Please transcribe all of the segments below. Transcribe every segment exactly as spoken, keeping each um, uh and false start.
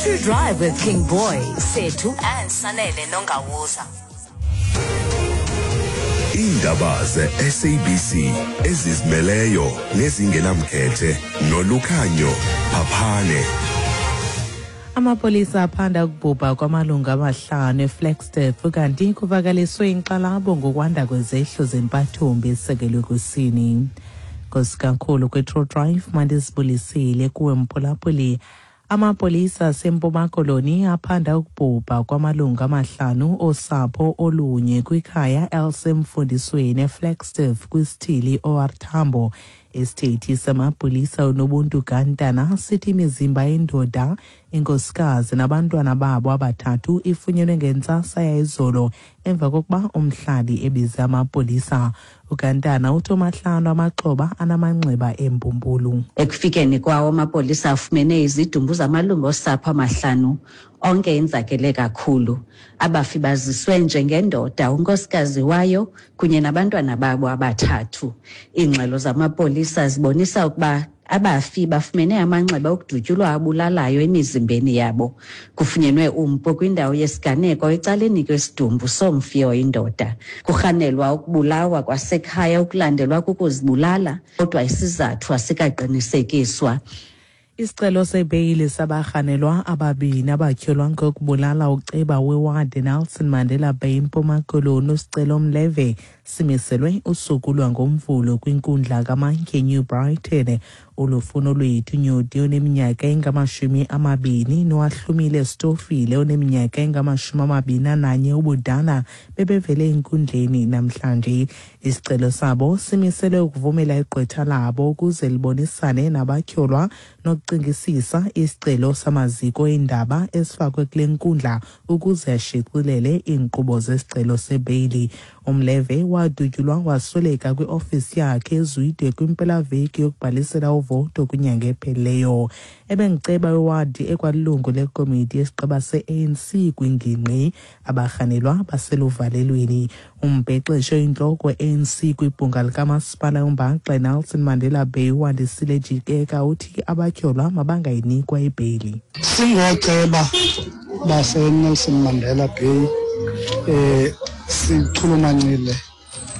True Drive with King Boy, Sethu and Sanele Nongawuza. Iindaba ze-S A B C ezizimeleyo nezingenamkhethe noLukhanyo Phaphane. Amapolisa aphanda ukubhubha kwamalungu amahlanu eFlagstaff kanti kuvakaliswe inkxalabo ngokwanda kwezehlo zempathombi ezisekelwe kwisini. Nkosikakhulu kwi-True Drive mandizibulisile kuwe mphulaphuli. Amapolisa aseMpuma Koloni aphanda ukubhubha kwamalungu amahlanu osapho olunye kwikhaya elisemfundisweni eFlagstaff kwisithili O R Tambo. Isithethi samapolisa uNobuntu Gantana sithi imizimba yendoda, inkosikazi nabantwana babo abathathu ifunyenwe ngentsasa yayizolo emva kokuba umhlali ebize amapolisa. UGantana uthi omahlanu amaxhoba anamanxeba embumbulu. Ekufikeni kwawo amapolisa afumene izidumbu zamalungu osapho amahlanu, onke enzakele kakhulu. Abafi baziswe njengendoda, unkosikazi wayo kunye nabantwana babo abathathu. Iingxelo zamapolisa zibonisa ukuba abafi bafumene amanxeba okudutyulwa abulalayo emizimbeni yabo. Kufunyenwe umpu kwindawo yesiganeko ecaleni kwesidumbu somfi oyindoda. Kurhanelwa ukubulawa kwasekhaya okulandelwa kukuzibulala, kodwa isizathu asikaqinisekiswa. Isicelo sebheyili sabarhanelwa ababini abatyholwa ngokubulala uceba wewadi Nelson Mandela Bay eMpuma Koloni uSicelo Mleve simiselwe usuku lwangoMvulo kwinkundla kaMantyi eNew Brighton. Ulufuno lwethu Nyodi oneminyaka engamashumi amabini noAhlumile Stofile oneminyaka engamashumi amabini ananye ubudala bebevele enkundleni namhlanje. Isicelo sabo simiselwe ukuvumela igqwetha labo ukuze libonisane nabatyholwa nokucingisisa isicelo samaziko eendaba esifakwe kule nkundla ukuze ashicilele iinkqubo zesicelo sebheyili. Umleve wadutyulwa wasweleka kwiofisi yakhe eZwide kwimpelaveki yokubhalisela uvoto kwinyanga ephelileyo. Ebengiceba wewadi ekwalilungu lekomiti yesigqeba se-A N C kwingingqi. Abarhanelwa baseluvalelweni. Umbhexeshi oyintloko we-A N C kwibhunga likamasipala uMbaxa Nelson Mandela Bay uWandisile Jikeka uthi abatyholwa mabangayinikwa ibheyili. Singooceba baseNelson Mandela Bay eh sichulumancile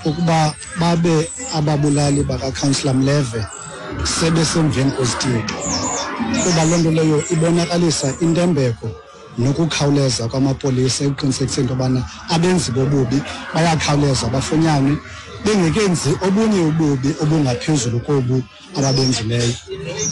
ukuba babe ababulali bakaCouncillor Mleve sebesemveni kwezityebi, kuba loo nto leyo ibonakalisa intembeko nokukhawuleza kwamapolisa ekuqinisekiseni into yobana abenzi bobubi bayakhawuleza bafunyanwe bengekenzi obunye ububi obungaphezulu kobu ababenzileyo.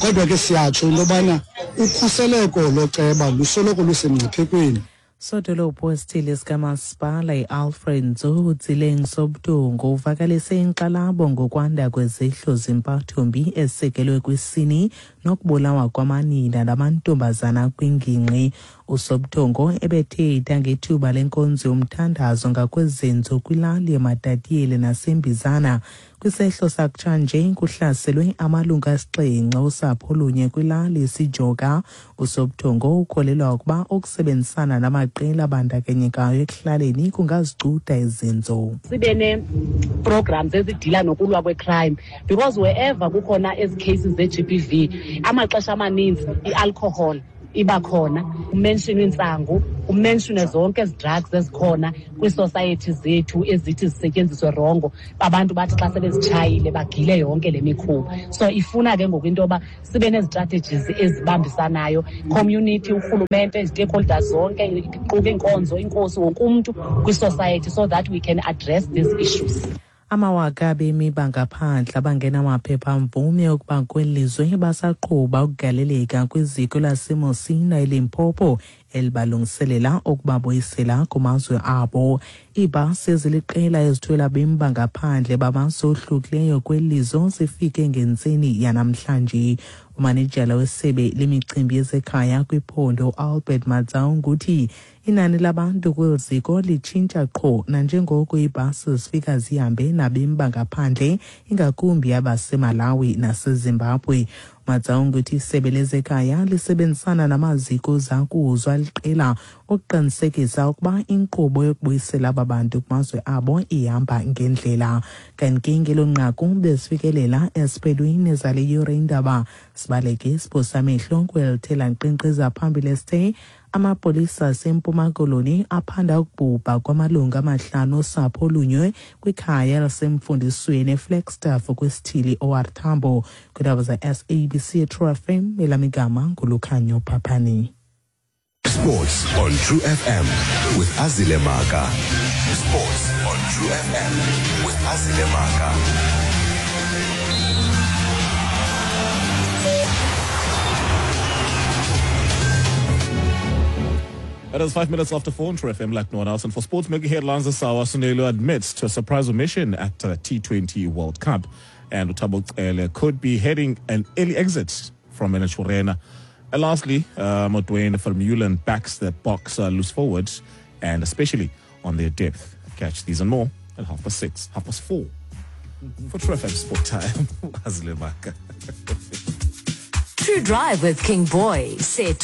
Kodwa ke siyatsho into yobana ukhuseleko loceba lusoloko lusemngciphekweni. Sodolophu wesithili sikamasipala iAlfred Nzo uTsileng Sobudungu uvakalise inkxalabo ngokwanda kwezehlo zempathombi ezisekelwe kwisini nokubulawa kwamanina namantombazana kwingingqi. USobuthongo ebethetha ngethuba lenkonzo yomthandazo ngakwezenzo kwilali eMatatiyele naseMbizana. Kwisehlo sakutshanje kuhlaselwe amalungu asixhenxe osapho olunye kwilali iSijoka. USobuthongo ukholelwa ukuba ukusebenzisana namaqela abandakanyekayo ekuhlaleni kungazicuda izenzo. Sibe ne-programs ezidila nokulwa kwe-crime, because wherever kukhona ezi cases ze-G B V, amaxesha amaninzi i-alcohol iba khona, kumentionwe intsangu, kumentionwe zonke ezi drugs ezikhona kwii-society zethu ezithi zisetyenziswe rongo. Abantu bathi xa sebezitshayile bagile yonke le mikhuba. So ifuna ke ngoku into yoba sibe nezi-strategies ezibambisanayo, community, urhulumente, ii-stakeholders zonke, iquka iinkonzo, inkosi, wonke umntu kwi-society, so that we can address these issues. Amawaka abemi bangaphandle abangenamaphepha-mvume okuba kweli lizwe basaqhuba ukugaleleka kwiziko laseMosina eLimpopo elibalungiselela ukubabuyisela kumazwe abo. Iibhasi eziliqela ezithwele abemi bangaphandle bamazwe ohlukileyo kweli lizwe zifike ngentseni yanamhlanje. Umanejala wesebe lemicimbi yezekhaya kwiphondo Albert Matsaung uthi Inani labantu kweli ziko litshintsha qho nanjengoko iibhasi zifika zihambe nabemi bangaphandle, ingakumbi abaseMalawi naseZimbabwe. Matsaung uthi isebe lezekhaya lisebenzisana namaziko zakuzo aliqela ukuqinisekisa ukuba inkqubo yokubuyisela aba bantu kumazwe abo ihamba ngendlela. Kanti ke ngelo nqaku bezifikelela esiphelweni zale yure indaba. Sibaleke isiphosa amehlo kwelithela nkqenkqeza phambili esithe amapolisa aseMpuma Koloni aphanda ukubhubha kwamalungu amahlanu osapho olunye kwikhaya lasemfundisweni eFlagstaff kwisithili O R Tambo. Kwiindaba ze-S A B C True F M, elam igama nguLukhanyo Phaphani. Sports on True F M with Azile Maka. Sports on True F M with Azile Maka. It is five minutes after four on True F M like no one else. And for sports making headlines this hour, Sunelo admits to a surprise omission at the T twenty World Cup. And Thabo Cele could be heading an early exit from Naturena. And lastly, uh, Duane Vermeulen backs the Boks uh, loose forward, and especially on their depth. Catch these and more at half past six, half past four. For True F M Sport Time, Azile Maka. True Drive with King Boy, Sethu.